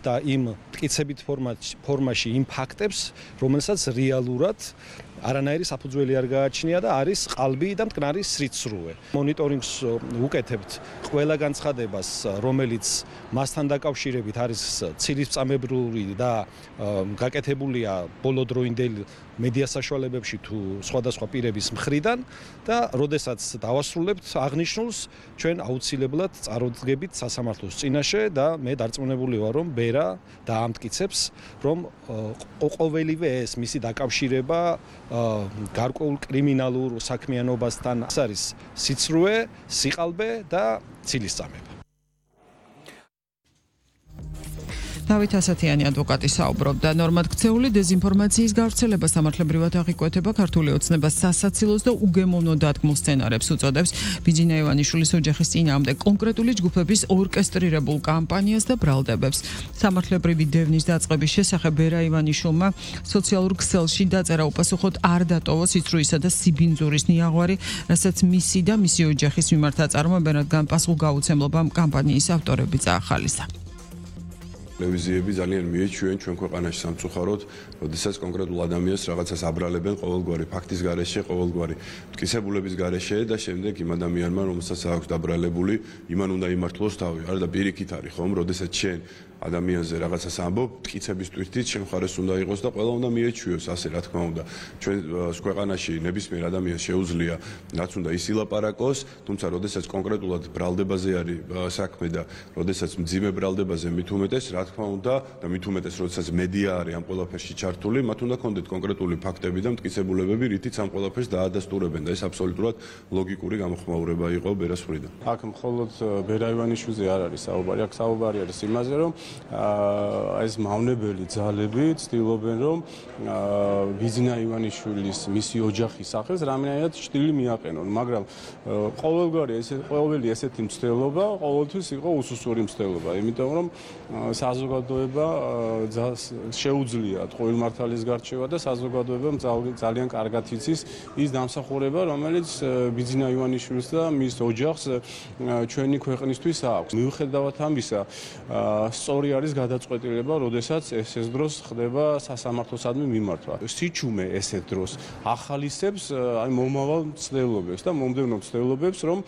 და იმ მტკიცებით ფორმაში იმ ფაქტებს, რომელსაც რეალურად არანაირი საფუძველი არ გააჩნია და არის ყალბი და მტკნარი სრიცრუე. მონიტორინგს უკეთებთ ყველა განცხადებას, რომელიც მასთან დაკავშირებით არის ცილისწამებრივი და გაკეთებულია ბოლოდროინდელ მედია საშუალებებში თუ სხვადასხვა პირების მხრიდან და როდესაც დავასრულებთ აღნიშნულს, ჩვენ აუცილებლად წარუდგებით სასამართლოს წინაშე და მე დარწმუნებული ვარ, რომ ბერა დაამტკიცებს, რომ ყოველივე ეს მისი დაკავშირება გარკვეულ კრიმინალურ საქმიანობასთან არის სიცრუე, სიყალბე და ცილისწამება. დავით ასათიანი ადვოკატი საუბრობდა. ნორმად ქცეული დეზინფორმაციის გავრცელება სამართლებრივად აღიკვეთება ქართული ოცნებას სასაცილოს და უგემოვნო დადგმულ სცენარებს უწოდებს. ბიძინა ივანიშვილის ოჯახის წინააღმდეგ კონკრეტული ჯგუფების ორკესტრირებულ კამპანიას და ბრალდებებს. სამართლებრივი დევნის დაწყების შესახებ ბერა ივანიშვილმა სოციალურ ქსელში დაწერა უპასუხოდ არ დატოვა სიცრუისა და სიბინძურის ниაღვარი, რასაც მისი და მისი ოჯახის მიმართ აწარმოებენ, რადგან პასუხგაუცემლობამ კამპანიის ავტორები წაახალისა. ტელევიზიები ძალიან მიეჩვენენ ჩვენ ქვეყანაში სამწუხაროდ, როდესაც კონკრეტულ ადამიანს რაღაცას აბრალებენ ყოველგვარი ფაქტის გარეშე, ყოველგვარი მტკიცებულების გარეშე და შემდეგ იმ ადამიანმა, რომელსაც აქვს დაბრალებული, იმან უნდა იმართლოს თავი. არა და პირიქით არის ხომ, როდესაც შენ ადამიანზე რაღაცას ამბობ, მტკიცების თვითით შენ მხარეს უნდა იყოს და ყველა უნდა მიეჩვიოს, ასე რა თქმა უნდა. ჩვენ ქვეყანაში ნებისმიერ ადამიანს შეუძლია რაც უნდა ის ილაპარაკოს, თუმცა როდესაც კონკრეტულად ბრალდებაზე არის საქმე და როდესაც მძიმე ბრალდებაზე მით უმეტეს, რა თქმა უნდა და მით უმეტეს როდესაც მედია არის ამ ყველაფერში ჩართული, მათ უნდა კონდეთ კონკრეტული ფაქტები და მტკიცებულებები, რითიც ამ ყველაფერს დაადასტურებენ და ეს აბსოლუტურად ლოგიკური გამოხმაურება იყო ბერას მხრიდან. აქ მხოლოდ ბერა ივანიშვილზე არ არის საუბარი, აქ საუბარი არის იმაზე, რომ ეს მავნებელი ძალები ცდილობენ, რომ ბიძინა ივანიშვილის მისი ოჯახის სახელს რამდენად ჭრილი მიაყენონ, მაგრამ ყოველი ესეთი მცდელობა ყოველთვის იყო უსუსური მცდელობა, იმიტომ რომ საზოგადოება შეუძლია ტყუილმართალის გარჩევა და საზოგადოებამ ძალიან კარგად იცის ის დამსახურება, რომელიც ბიძინა ივანიშვილს და მის ოჯახს ჩვენი ქვეყნისთვის აქვს. მიუხედავად ამისა, სწორი არის გადაწყვეტილება, როდესაც ეს დროს ხდება სასამართლოსადმი მიმართვა. სიჩუმე ესეთ დროს ახალისებს მომავალ მცდელობებს და მომდევნო მცდელობებს, რომ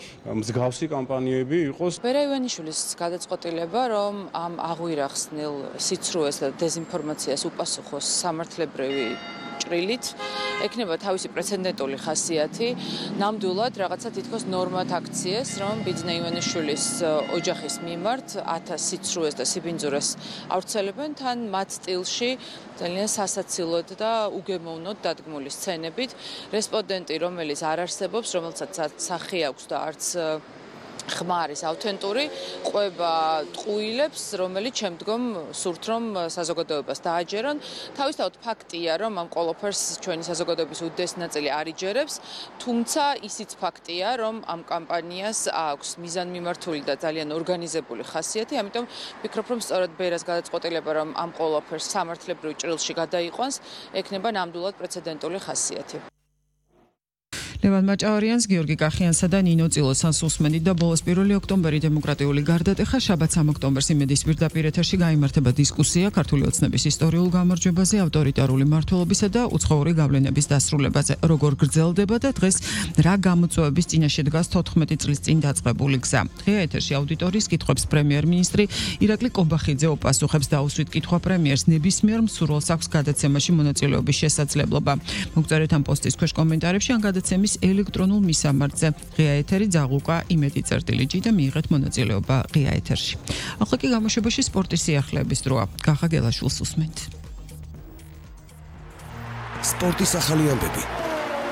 მსგავსი კამპანიები იყოს. ბერა ივანიშვილის გადაწყვეტილება, რომ ამ აღვირახსნილ სიცრუეს და დეზინფორმაციას უპასუხოს სამართლებრივი ჭრილით, ექნება თავისი პრეცედენტული ხასიათი, ნამდვილად რაღაცა თითქოს ნორმად აქციეს, რომ ბიძინა ივანიშვილის ოჯახის მიმართ 1000 სიცრუეს და სიბინძურეს ავრცელებენ, თან მათ სტილში ძალიან სასაცილოდ და უგემოვნოდ დადგმული სცენებით. რესპონდენტი, რომელიც არ არსებობს, რომელსაც სახე აქვს და არც ხმა არის ავთენტური, ყვება ტყუილებს, რომელიც შემდგომ სურთ, რომ საზოგადოებას დააჯერონ. თავისთავად ფაქტია, რომ ამ ყველაფერს ჩვენი საზოგადოების უდიდესი ნაწილი არ იჯერებს, თუმცა ისიც ფაქტია, რომ ამ კამპანიას აქვს მიზანმიმართული და ძალიან ორგანიზებული ხასიათი, ამიტომ ვფიქრობ, რომ სწორედ ბერას გადაწყვეტილება, რომ ამ ყველაფერს სამართლებრივ ჭრილში გადაიყვანს, ექნება ნამდვილად პრეცედენტული ხასიათი. ლევან მაჭავარიანს, გიორგი კახიანსა და ნინო წილოსანს უსმენით და ბოლოს 1 ოქტომბერი დემოკრატიული გარდატეხა, შაბათ 3 ოქტომბერს იმედის პირდაპირ ეთერში გაიმართება დისკუსია ქართული ოცნების ისტორიულ გამარჯვებაზე, ავტორიტარული მმართველობისა და უცხოური გავლენების დასრულებაზე. როგორ გრძელდება და დღეს რა გამოწვევების წინაშე დგას 14 წლის წინ დაწყებული გზა. დღეა ეთერში აუდიტორიის კითხვებს პრემიერ-მინისტრი ირაკლი კობახიძე უპასუხებს და უსვით კითხვა პრემიერს, ნებისმიერ მსურველს აქვს გადაცემაში მონაწილეობის შესაძლებლობა. მოგწერეთ ამ პოსტის ქვეშ კომენტარებში ან გადაცემის ელექტრონულ მისამართზე. ღია ეთერი ძაღლუკა იმედი_ჭ და მიიღეთ მონაწილეობა ღია ეთერში. ახლა კი გამოშვებაში სპორტის სიახლეების დროა. გახა გელაშვილს უსმენთ. სპორტის ახალი ამბები.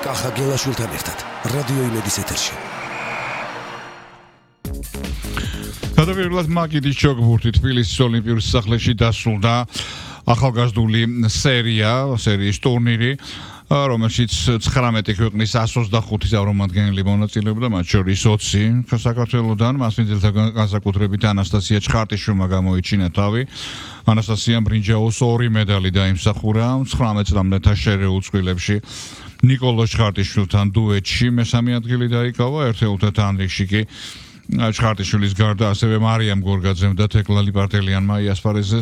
გახა გელაშვილთან ერთად რადიო იმედის ეთერში. გადავირლად მაგიდის ჩოგბურთი თბილისის ოლიმპიურ სასახლეში დასრულდა ახალგაზრდული სერიის ტურნირი, რომელშიც 19 ქვეყნის 125 წარმომადგენელი მონაწილეობდა, მათ შორის 20 საქართველოდან. მასპინძელთა განსაკუთრებით ანასტასია ჩხარტიშვილმა გამოიჩინა თავი. ანასტასიამ ბრინჯაოს 2 მედალი დაიმსახურა 19 წლამდეთა შერეულ წყვილებში. ნიკოლოზ ჩხარტიშვილთან დუეტში მესამე ადგილი დაიკავა, ერთეულთა თანრიგში კი ჩხარტიშვილის გარდა ასევე მარიამ გორგაძემ და თეკლალი პარტელიანმა იასპარეზეს